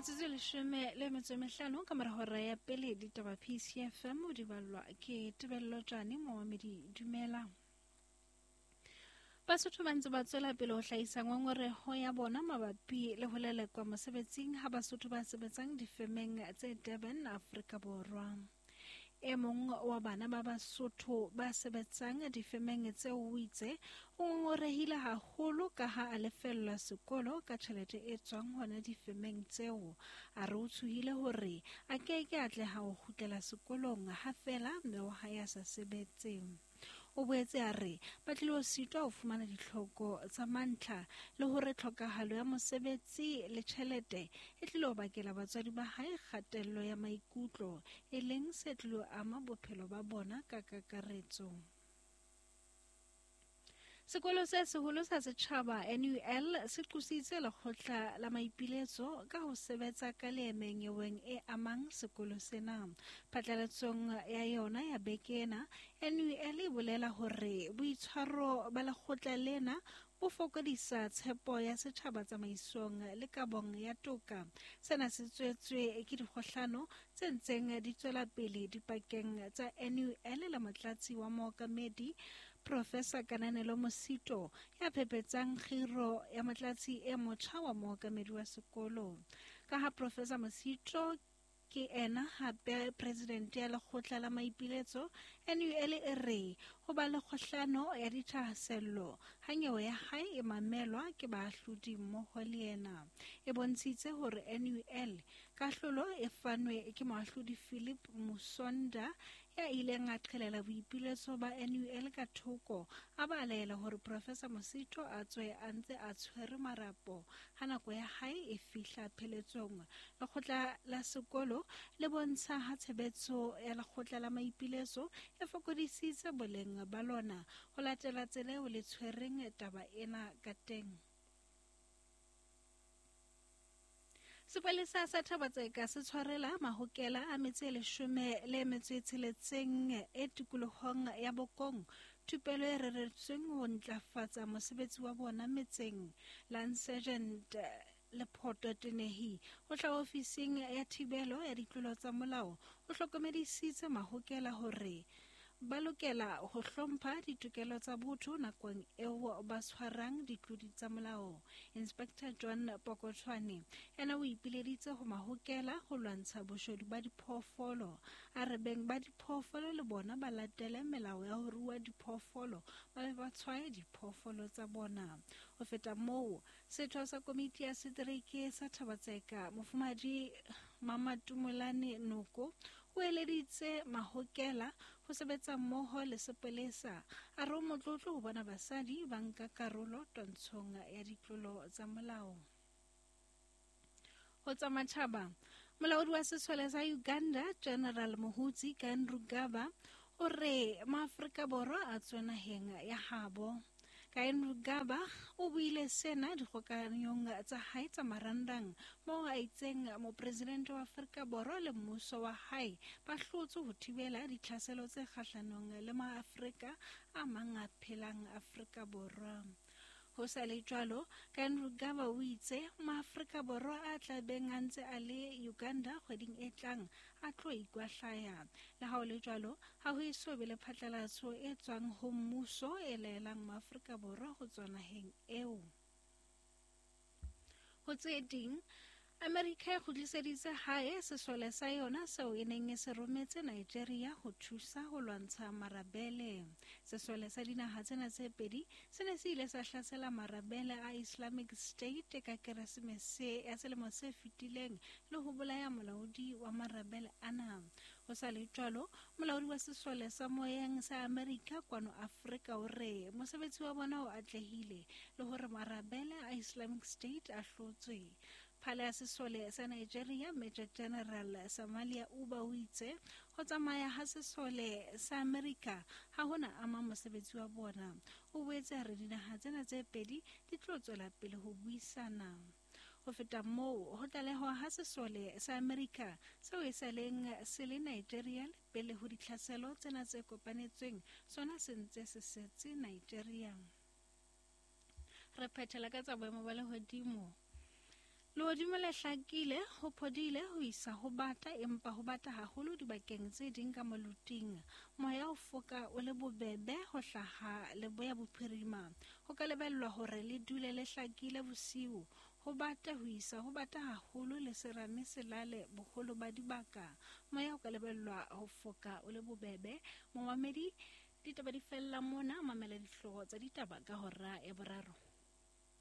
Metsotso e 15 ka mora hora ya pele ditaba PCFM o di ballwa ke Tebello Tjane momamedi dumela. Basotho ba ntse ba tswela pele ho hlahisa ngongoreho ya bona mabapi le ho lelekwa mosebetsing ha Basotho ba sebetsang difemeng tse Durban, Afrika Borwa. E mong wa bana ba Basotho ba sebetsang difemeng tseo o itse o ngongorehile haholo ka ha a lefellwa sekolo ka tjhelete e tswang hona difemeng tseo. A re o tshohile hore a ke ke atleha ho kgutlela sekolong ha feela mme wa hae a sa sebetse. O boetse a re ba tlilo sitwa ho fumana ditlhoko tsa mantlha le hore tlhokahalo ya mosebetsi le tjhelete e tlilo bakela batswadi ba hae kgatello ya maikutlo, e leng se tlilo ama bophelo ba bona ka kakaretso. Sekolo se seholo sa setjhaba NUL se qositse lekgotla la maipiletso ka ho sebetsa ka leeme nyeweng e amang sekolo sena. Phatlalatsong ya yona ya beke ena, NUL e bolela hore boitshwaro ba lekgotla lena bo fokodisa tshepo ya setjhaba tsamaisong le kabong ya toka. Sena se tswetswe ke dikgohlano tse ntseng di tswela pele dipakeng tsa NUL le motlatsi wa mookamedi Professor Kananelo Mosito ya phepetsang kgiro ya motlatsi e motjha wa mookamedi wa sekolo. Ka ha Professor Mosito ke ena hape president ya lekgotla la maipiletso, NUL e re ho ba le kgohlano ya dithahasello ha nyewe ya hae e mamelwa ke baahlodi mmoho le yena. E bontshitse hore NUL kahlolo e fanwe ke moahlodi Philip Musonda ya ileng a qhelela boipiletso ba NUL ka thoko, a ba laela hore Professor Mosito a tswe a ntse a tshwere marapo ha nako ya hae e fihla pheletsong. Lekgotla la sekolo le bontsha ha tshebetso ya lekgotla la maipiletso e fokodisitse boleng ba lona ho latela tsela eo le tshwereng taba ena ka teng. Sepolesa sa Thaba-Tseka se tshwarela mahokela a metse e 16 e tikolohong ya Bokong thupelo e reretsweng ho ntlafatsa mosebetsi wa bona metseng. Lance Sergeant Lephoto Tenehi ho hlaha ofising ya thibelo ya ditlolo tsa molao o hlokomedisitse mahokela hore ba lokela ho hlompha ditokelo tsa botho nakong eo ba tshwarang ditlodi tsa molao. Inspector John Pokotshwane ena o ipileditse ho mahokela ho lwantsha boshodu ba diphoofolo. A re beng ba diphoofolo le bona ba latele melao ya ho rua diphoofolo, ba be ba tshwaye diphoofolo tsa bona. Ho feta moo, setho sa komiti ya setereke sa Thaba-Tseka, Mofumahadi Mamatumolane Noko, o eleditse mahokela ho sebetsa mmoho le sepolesa. A re o motlotlo ho bona basadi ba nka karolo twantshong ya ditlolo tsa molao. Ho tsa matjhaba, molaodi wa sesole sa Uganda General Muhoozi Kainerugaba o re Maafrika Borwa a tswe naheng ya habo. Kainerugaba o buile sena dikgokanyong tsa hae tsa marangrang moo a itseng mopresidente wa Afrika Borwa le mmuso wa hae ba hlotse ho thibela ditlhaselo tse kgahlanong le Maafrika a mang a phelang Afrika Borwa. Ho sa le jwalo, Kainerugaba o itse Maafrika Borwa a tla beng a ntse a le Uganda kgweding e tlang a tlo ikwahlaya. Le ha ho le jwalo, ha ho eso be le phatlalatso e tswang ho mmuso e laelang Maafrika Borwa ho tswa naheng eo. Ho tse ding, Amerika e kgutliseditse hae sesole sa yona seo e neng e se rometse Nigeria ho thusa ho lwantsha marabele. Sesole sa dinaha tsena tse pedi se ne se ile sa hlasela marabele a Islamic State ka Keresemese ya selemo se fetileng le ho bolaya molaodi wa marabele ana. Ho sa le jwalo, molaodi wa sesole sa moyeng sa Amerika kwano Afrika o re mosebetsi wa bona o atlehile le hore marabele a Islamic State a hlotswe. Phala ya sesole sa Nigeria Major General Samalia Uba o itse ho tsamaya ha sesole sa Amerika ha hona ama mosebetsi wa bona. O boetse a re dinaha tsena tse pedi di tlo tswela pele ho buisana. Ho feta moo, ho tlalehwa ha sesole sa Amerika seo e sa leng se le Nigeria le pele ho ditlhaselo tsena tse kopanetsweng sona se ntse se setse Nigeria. Re phethela ka tsa boemo ba lehodimo. Lehodimo le hlakile, ho phodile ho isa ho bata, empa ho bata haholo dibakeng tse ding ka moluting. Moya o foka o le bobebe ho hlaha leboya bophirima. Ho ka lebellwa hore le dule le hlakile bosiu. Ho bata ho isa ho bata haholo le serame se lale boholo ba dibaka. Moya o ka lebellwa ho foka o le bobebe. Momamedi, ditaba di fella mona, mamela dihlooho tsa ditaba ka hora ya boraro.